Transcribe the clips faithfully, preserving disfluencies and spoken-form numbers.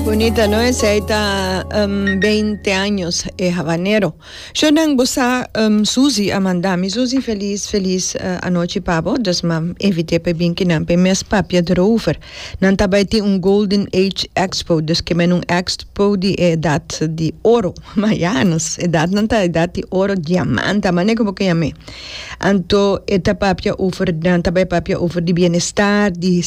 Bonita, no? Esey ta um, veinte años e habanero. Shonan, bo sa, um, Suzy a manda mi. Suzy, feliz, feliz uh, anochi pa bo. Dus m'a invit'e pa bin kinan p'e mes papia erover. Nan ta bay tin un Golden Age Expo, dus kemen un expo di edad di oro. Ma ja, nos edad nan ta edad di oro, diamante, ma como cu yam'e. Anto e ta papia over, nan ta bay papia over di bienestar, di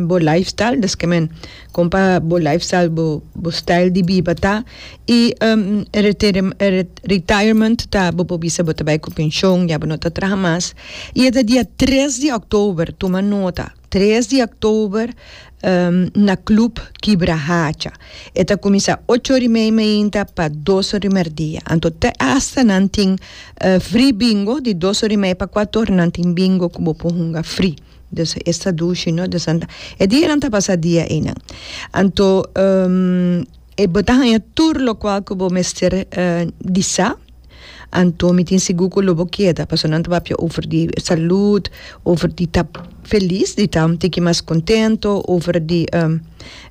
bo lifestyle, dus kemen con pa bo lifestyle, bo, bo style di biba ta y um, retirement ta bo por bisa bo ta bay cu pensioen, ya bo no ta traha mas. Y e dia tres di october, tuma nota, tres di october, um, na Club Kibrahacha. E ta cuminsa ocho or y mey mainta pa dos or y merdia. Anto te hasta nan tin uh, free bingo di dos or y mey pa cuater or, nan tin bingo cu bo por hunga free. Dus esta dushi, no? Dus anda. E dia nan ta pasa dia einan. Anto um, e bo ta haña tur locual cu bo mester uh, di sa. Anto mi tin sigur cu lo bo keda, paso nan ta papia over di salud, over di ta feliz, di ta un tiki mas contento, over di um,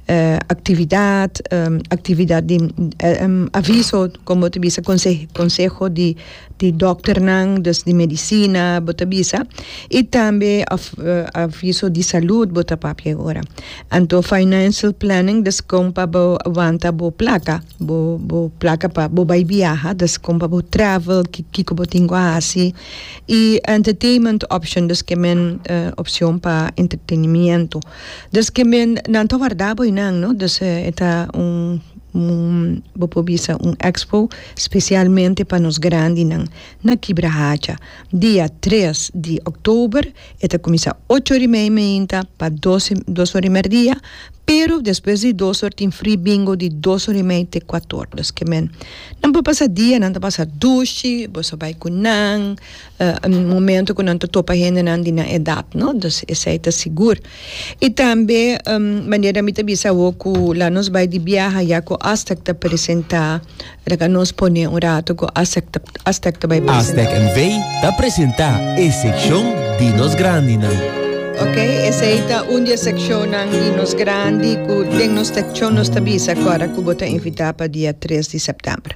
uh, actividad, um, actividad di um, aviso, como ta bisa, conse conseho di di dokternan, dus di medicina, bo ta bisa, y tambe af, uh, aviso di salud, bo ta papia ora. Anto financial planning, dus con pa bo wanta bo placa, bo bo placa pa bo bay viaja, dus con pa bo travel, kico bo tin cu haci, y entertainment option, dus kemen uh, opcion pa entretenimento. Dus kemen nan ta warda bo einan, no? Dus uh, ta un un bo por bisa un expo specialmente pa nos grandinan na Kibrahacha. Dia tres di october, e ta cuminsa ocho or y mey mainta pa dos or y merdia, pero despues di dos or tin free bingo di dos or y mey te cuater or. Dus kemen nan por pasa dia, nan ta pasa dushi, bo sa bay cu nan, uh, un momento cu nan ta topa hendenan di nan edad, no? Dus esey ta sigur. Y tambe, um, manera mi ta bisa cu la nos bay di biaha ya cu Astec ta presenta, laga nos pone un rato cu Astec ta, Astec ta bay presenta. Astec N V ta presenta e seccion di nos grandinan. Ok, esey ta un di e seccionnan di nos grandi cu den nos seccion nos ta bisa awor cu bo ta invita pa dia tres di september.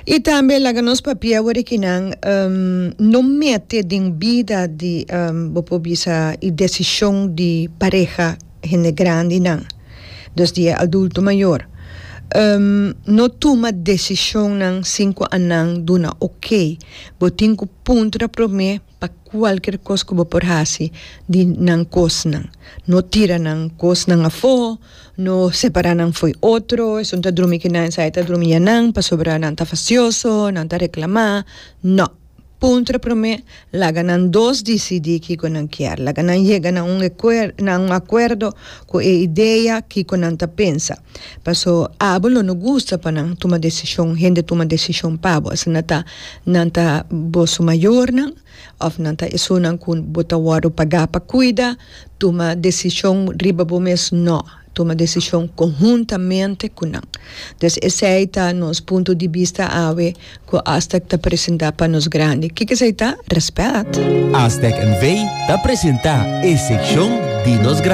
Y tambe laga nos papia awor kinan, um, no mete den bida di um, bo por bisa y decision di pareha hende grandinan. Dus di adulto mayor. Um, no tuma decisionnan sin cu nan duna ok. Bo tin cu puntra prome pa cualkier cos cu bo por haci di nan cosnan. No tira nan cosnan afo, no separa nan fo'i otro, esun ta drumi kinan, esey ta drumi nan, pasobra nan ta fastioso, nan ta reclama. No. Puntra prome, laga nan dos dicidi kico nan kier. Laga nan yega na un, na un acuerdo cu e idea kico nan ta pensa. Paso abo lo no gusta pa nan tuma decision, hende tuma decision pa bo. Asina ta nan ta boso mayornan, of nan ta esunnan cu bo ta wordo paga pa cuida, tuma decision riba bo mes, no. Tuma decision conhuntamente cu nan. Dus esey ta nos punto di bista awe cu Astec ta presenta pa nos grandi. Kico esey ta? Respet. Astec N V ta presenta e seccion di nos grandi.